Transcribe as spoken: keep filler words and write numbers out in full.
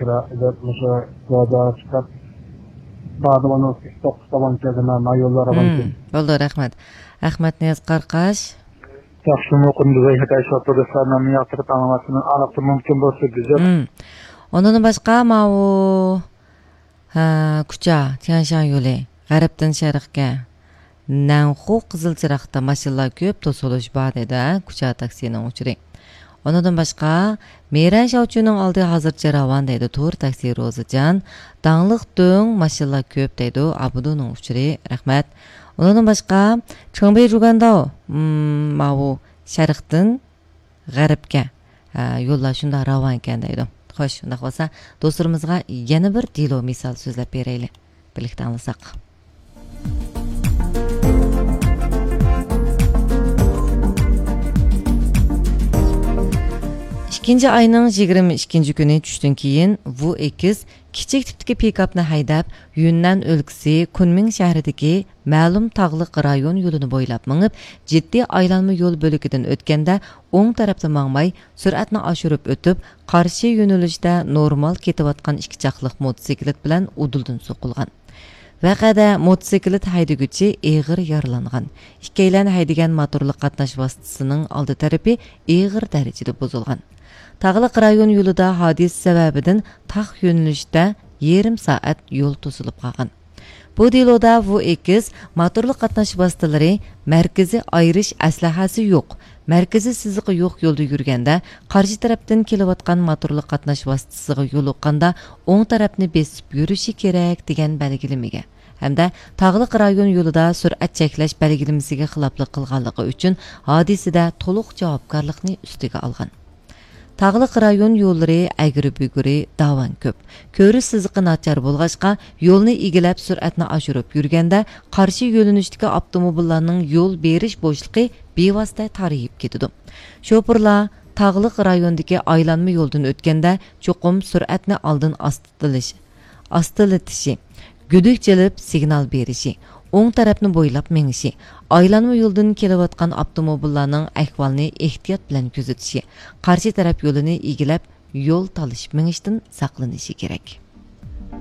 دەپ مۇشۇ جايدا چىقىپ، سائەت ئون توققۇز تاۋان كەلدىم، مايوللار ئالغان مم، كېلىپ. بولدى، رەھمەت. ئەخمەتنىياز قاراقاش. ياخشىمۇ، قۇندۇز ئەي خىتاي شوپۇر دوستلار، مەن ياقتۇرۇپ ئاڭلاۋاتىمەن، ئالاقتىن مۇمكىن بولسا گۈزەل. مم. ئۇنىڭدىن باشقا، ماۋۇ، ھە، كۇچا، تيەنشان يولى، غەربتىن شەرققە، نەنخۇ قىزىل چىراغدا ماشىنىلار كۆپ، توسۇلۇش بار دەيدۇ، ھە، كۇچا تاكسىنىڭ ئۇچۇرى. ئۇنىڭدىن باشقا، مېرەن شاۋچۈنىڭ ئالدى ھازىرچە راۋان دەيدۇ، تور تاكسى روزىجان. داڭلىق دۆڭ، ماشىنىلار كۆپ دەيدۇ، ئابدۇنىڭ ئۇچۇرى، رەھمەت. ئۇنىڭدىن باشقا، چېڭبېي جۇگەنداۋ، مم، ماۋۇ شەرقتىن غەربكە، ھە، يوللار شۇنداق راۋانكەن دەيدۇ. خوش، شۇنداق بولسا، دوستلىرىمىزغا يەنە بىر دېلو مىسال سۆزلەپ بېرەيلى. بىرلىكتە ئاڭلىساق. ئىككىنچى ئاينىڭ يىگىرمە ئىككىنچى كۈنى چۈشتىن كېيىن ۋۇ ئېكس كىچىك تىپتىكى پىكاپنى ھەيدەپ، يۈننەن ئۆلكىسى كۇنمىڭ شەھىرىدىكى مەلۇم تاغلىق رايون يولىنى بويلاپ مېڭىپ، جىددىي ئايلانما يول بۆلىكىدىن ئۆتكەندە، ئوڭ تەرەپتە ماڭماي، سۈرئەتنى ئاشۇرۇپ ئۆتۈپ، قارشى يۆنىلىشتە نورمال كېتىۋاتقان ئىككى چاقلىق موتوسىكلىت بىلەن ئۇدۇلدىن سوقۇلغان. ۋەقەدە موتوسىكلىت ھەيدىگۈچى ئېغىر يارىلانغان. ئىككىيلەن ھەيدىگەن موتورلۇق قاتناش ۋاسىتىسىنىڭ ئالدى تەرىپى ئېغىر دەرىجىدە بۇزۇلغان. تاغلىق رايون يولىدا ھادىسە سەۋەبىدىن تاق يۆنىلىشتە يېرىم سائەت يول توسۇلۇپ قالغان. بۇ دېلودا ۋۇ ئېكس موتورلۇق قاتناش ۋاسىتىلىرى مەركىزىي ئايرىش ئەسلىھەسى يوق، مەركىزىي سىزىقى يوق يولدا يۈرگەندە، قارشى تەرەپتىن كېلىۋاتقان موتورلۇق قاتناش ۋاسىتىسىغا يولۇققاندا، ئوڭ تەرەپنى بېسىپ يۈرۈشى كېرەك، دېگەن بەلگىلىمىگە ھەمدە تاغلىق رايون يولىدا سۈرئەت چەكلەش بەلگىلىمىسىگە خىلاپلىق قىلغانلىقى ئۈچۈن، ھادىسىدە تولۇق جاۋابكارلىقنى ئۈستىگە ئالغان. تاغلىق رايون يوللىرى ئەگرى-بۈگرى، داۋان كۆپ. كۆرۈش سىزىقى ناچار بولغاچقا، يولنى ئىگىلەپ سۈرئەتنى ئاشۇرۇپ يۈرگەندە، قارشى يۆنىلىشتىكى ئاپتوموبىللارنىڭ يول بېرىش بوشلۇقى بىۋاسىتە تارىيىپ كېتىدۇ. شوپۇرلار تاغلىق رايوندىكى ئايلانما يولدىن ئۆتكەندە، چوقۇم سۈرئەتنى ئالدىن ئاستىلىش، ئاستىلىتىشى، گۈدۈك چېلىپ سىگنال بېرىشى، ئوڭ تەرەپنى بويلاپ مېڭىشى، ئايلانما يولدىن كېلىۋاتقان ئاپتوموبىللارنىڭ ئەھۋالىنى ئېھتىيات بىلەن كۆزىتىشى، قارشى تەرەپ يولىنى ئىگىلەپ، يول تالىشىپ مېڭىشتىن ساقلىنىشى كېرەك.